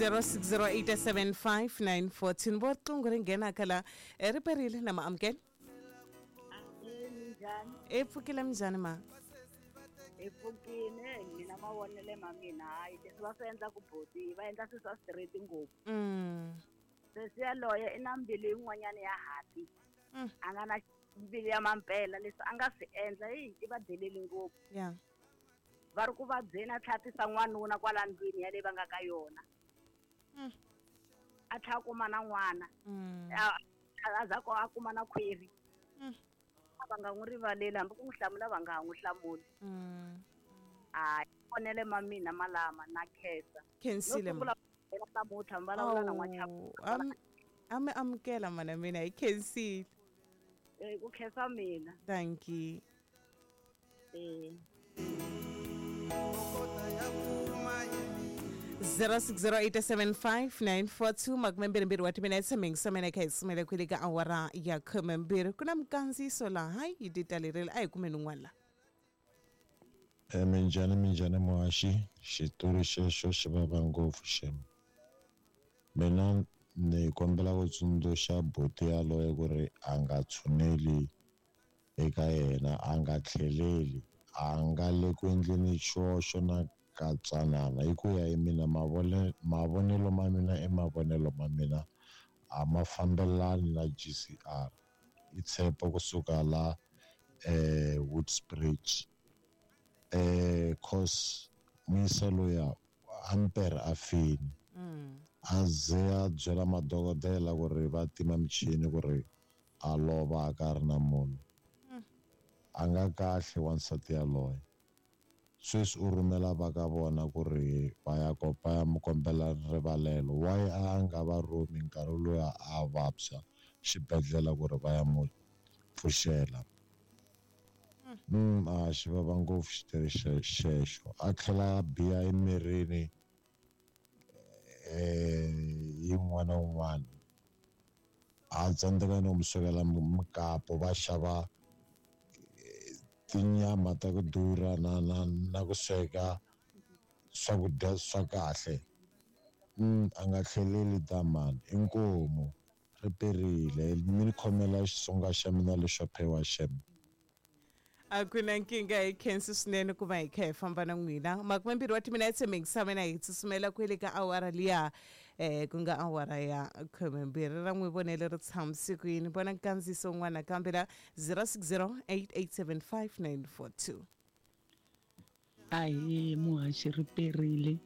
06087594 vo riqingho ri nghenaka la. Ri perile na ma amukela. Minjhani? E pfukile, minjhani ma? Hi pfukile. Mina mavonele ma mina, hayi, leswi va swi endlaku boti, va endla swilo swa straight ngopfu. Sesi yaloye i na mbilu yin'wanyana ya hati. A nga na mbilu ya mampela. Leswi a nga swi endla, yi i va deleli ngopfu. Va ri ku vabyeni, a tlhela a tisa n'wanuna kwala ndlwini yaleyi va nga ka yona. A tlhela a kuma na n'wana. A za a kuma na khwiri. Va nga n'wi rivaleli, hambi ku n'wi hlamula va nga ha n'wi hlamuli. Hayi, vonele ma mina malama na khensa. Khensile. No sungula namuntlha mi vulavula na n'wachapu. A mi amukela mana mina, hi khensile. Ku khensa mina. Thank you. 06087594 22 wa timinetse mingisamene kha hi sumele kwele ka awara ya 12. Ku na mikandziyiso laha, hayi, yi titalerile, a hi kumeni un'wana la. Minjhani, minjhani muhaxi? Xitori xexo xi vava ngopfu xem. Mina ni kombela ku tsundzuxa buti yaloye ku ri a nga tshuneli eka yena, a nga tlheleli, a nga le ku endleni xihoxo na katsanana. Hi ku ya hi mina, mavonelo ma mina i mavonelo ma mina, a ma fambelani na GCR. I tshepo kusuka la Woodsbridge. Cause muyisa loya ampere a fini. A ze a byela madokodela ku ri va tima michini ku ri a lova a ka ri na munhu. A nga kahle wansati yaloye. Sweswi u rhumela va ka vona ku ri va ya va ya mu kombela rivalelo. Why a nga va rhumi nkarhi luya a vabya xibedhlele ku ri va ya mu pfuxela? A xi vava ngopfu xitori xexo. A tlhela a biha emirini yin'wana na un'wana. A tsandzeka no mu swekela mukapu, va xava tinyama ta ku durha na na na ku sweka swakudya swa kahle. A nga tlheleli damani, inkomu ri perile. Mi ni khomela Xitsonga xa mina lexo phewa xem. A ku na nkingha, hi khensi swinene ku va hi kha hi famba na n'wina. 20 wa timinetse mingisame na hi tsutsumela kwele ka awara liya, ku nga awara ya 12. Ra n'wi vonele ri tshamise ku yini? Vona nkandziyiso wun'wana nakambe la, 0608875942. Ahee muhaxi, ri perile.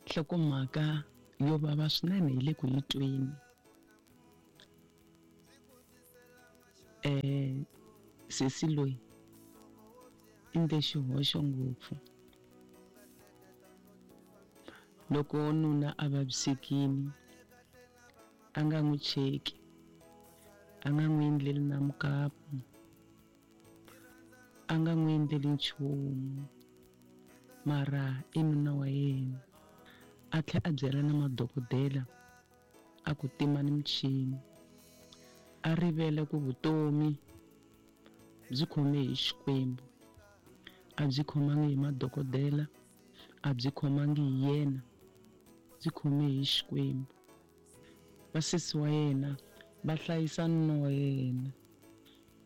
Nhlokomhaka yo vava swinene hi le ku yi tweni. Sesi loyi i ndle xihoxo ngopfu. Loko nuna a vavisekile, a nga n'wi cheki, a nga n'wi endleli na mukapu, a nga n'wi endleli nchumu, mara i nuna wa yena. A tlhela a byela na madokodela a ku timani michini. A rivele ku vutomi byi khome hi Xikwembu, a byi khomangi hi madokodela, a byi khomangi hi yena, byi khome hi Xikwembu. Vasesi wa yena va hlayisa nuna wa yena.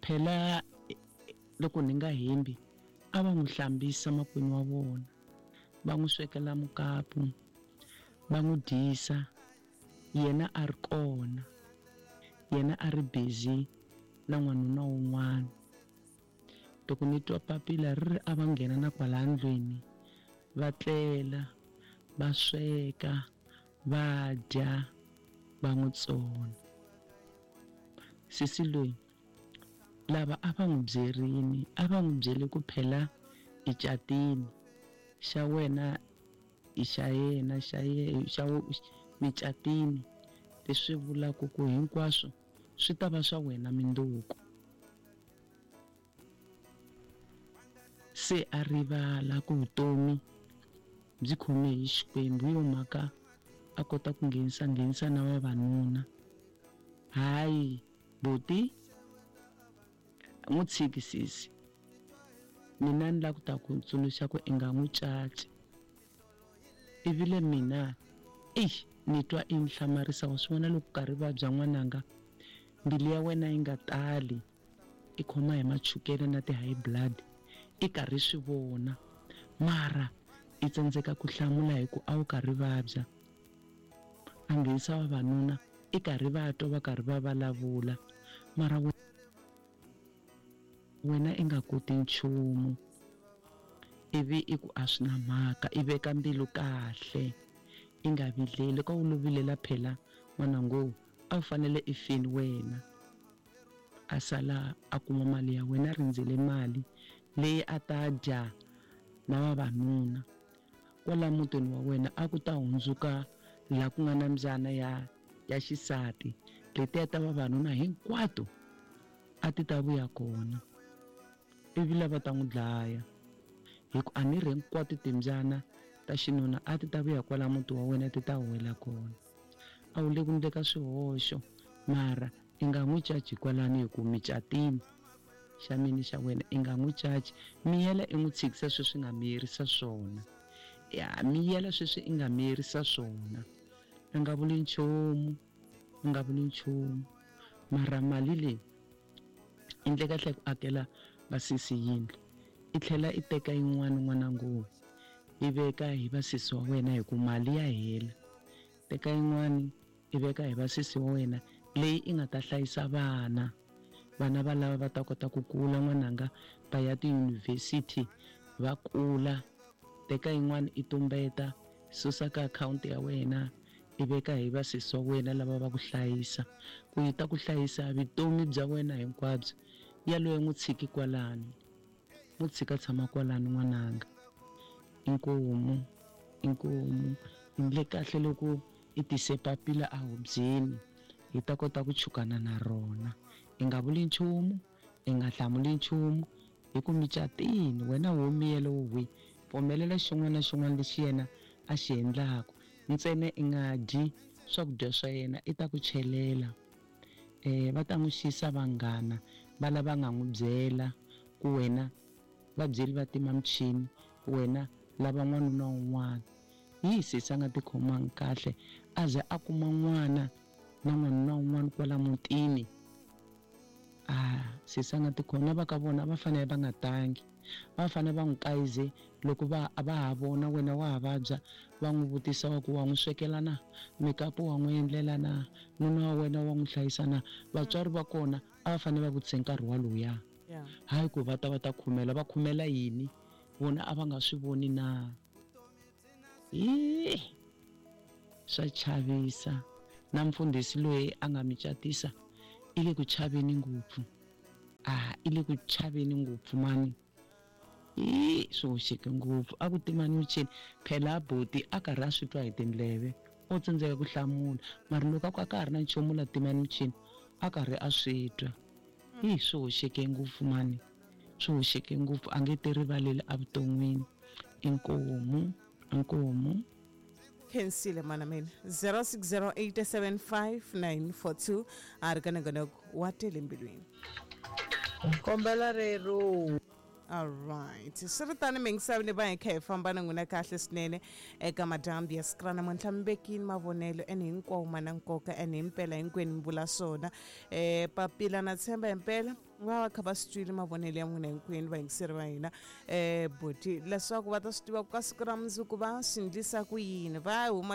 Phela loko ni nga hembi, a va n'wi hlambisa makwenu wa vona, va n'wi swekela mukapu, va n'wi dyisa, yena a ri kona, yena a ri busy na n'wanuna wun'wana. Loko ni twa papila ri ri a va nghena na kwala ndlwini, va tlela, va sweka, va dya, va n'wi tsona. Sesi loyi, lava a va n'wi byerini, a va n'wi byele ku phela i catini, xa wena i xa yena, xa xa micatini, leswi vulaka ku hinkwaswo swi ta va swa wena mindzuku. Se a rivala ku vutomi byi khome hi Xikwembu, hi yo mhaka a kota ku nghenisa nghenisa na vavanuna. Hayi buti, n'wi tshiki sesi. Mina ni lava ku ta ku tsundzuxa ku i nga n'wi caci. Ivile mina eyi ni twa i ni hlamarisa, wa swi vona loko karhi vabya n'wananga, mbilu ya wena yi nga tali, i khoma hi machukele na ti-high blood, i karhi swi vona, mara i tsandzeka ku hlamula hi ku a wu karhi vabya. A nghenisa vavanuna, i karhi va twa va karhi va vulavula, mara wena i nga koti nchumu. Ivi i ku a swi na mhaka, i veka mbilu kahle, i nga vileli. Ka u lo vilela phela n'wanango, a wu fanele i fini wena. A sala a kuma mali ya wena, a rindzele mali leyi a ta dya na vavanuna. Kwala mutini wa wena a ku ta hundzuka laha ku nga na mbyana ya xisati, letiya ta vavanuna hinkwato a ti ta vuya kona, ivi lava ta n'wi dlaya. Hi ku a ni ri hinkwato timbyana ta xinuna a ti ta vuya kwala muti wa wena, ti ta huwela kona. A wu le ku ndleka swihoxo, mara i nga n'wi caci kwalano hi ku mi catini xa mini xa wena, i nga n'wi caci. Miyela i n'wi tshikisa sweswi nga miyerisa swona. Ya, miyela sweswi i nga miyerisa swona. A nga vuli nchumu, a nga vuli nchumu. Mara mali leyi i ndle kahle ku akela vasesi yindlu, i tlhela i teka yin'wana n'wanangu, i veka hi vasesi wa wena hi ku mali ya hela. Teka yin'wana i veka hi vasesi wa wena leyi i nga ta hlayisa vana. Vana va lava va ta kota ku kula n'wananga, va ya tiyunivhesiti va kula. Teka yin'wana i tumbeta, susa ka akhawunti ya wena, i veka hi vasesi wa wena lava va ku hlayisa, ku yi ta ku hlayisa vutomi bya wena hinkwabyo. Yaloye n'wi tshiki kwalano, n'wi tshika tshama kwalano n'wananga. Inkomu, inkomu. I ndle kahle loko i tise papila a hubyeni, hi ta kota ku chukana na rona. I nga vuli nchumu, i nga hlamuli nchumu, hi ku mi catini wena wo miyela wo hwi. Pfumelela xin'wana na xin'wana lexi yena a xi endlaka, ntsena i nga dyi swakudya swa yena, i ta ku chelela. Va ta n'wi xisa vanghana va lava nga n'wi byela ku wena va byeli va tima michini, wena lava n'wanuna un'wana. Hi sesi a nga tikhomangi kahle, a ze a kuma n'wana na n'wanuna un'wana kwala mutini. Sesi a nga tikhomi, na va ka vona va fanele va nga tangi, va fanele va n'wi kayize loko va ha vona wena wa ha vabya, va n'wi vutisa wa ku wa n'wi swekela na, mikapu wa n'wi endlela na, nuna wa wena wa n'wi hlayisa na. Vatswari va kona a va fanele va vutise nkarhi waluya. Hayi ku va ta va ta khumela, va khumela yini? Vona a va nga swi voni na? Swa chavisa. Na mfundhisi loyi a nga mi catisa i le ku chaveni ngopfu. I le ku chaveni ngopfu mani. Swi hoxeke ngopfu. A ku timani michini. Phela buti a karhi a swi twa hi tindleve, o tsandzeka ku hlamula. Mara loko a ku a ka ha ri na nchumu la timani michini, a karhi a swi twa. Swi hoxeke ngopfu mani. Swi hoxeke ngopfu, a nge ti rivaleli evuton'wini. Inkomu, inkomu. Khensile mana mina. 0608755942 a ri ka nongonoko wa tele mbilwini. Kombela rero. All right. Swi ri tani mingisavini va hi kha hi famba na n'wina kahle swinene eka madyambu ya siku ra namuntlha. Mi vekini mavonelo ene hinkwawo ma na nkoka ene himpela hinkwenu mi vula swona. Papila na tshemba himpela va va kha va swi twile mavonelo ya n'wina hinkwenu vayingiseri va hina. Buti leswaku va ta swi tiva ku ka siku ra mundzuku va swi endlisa ku yini, va huma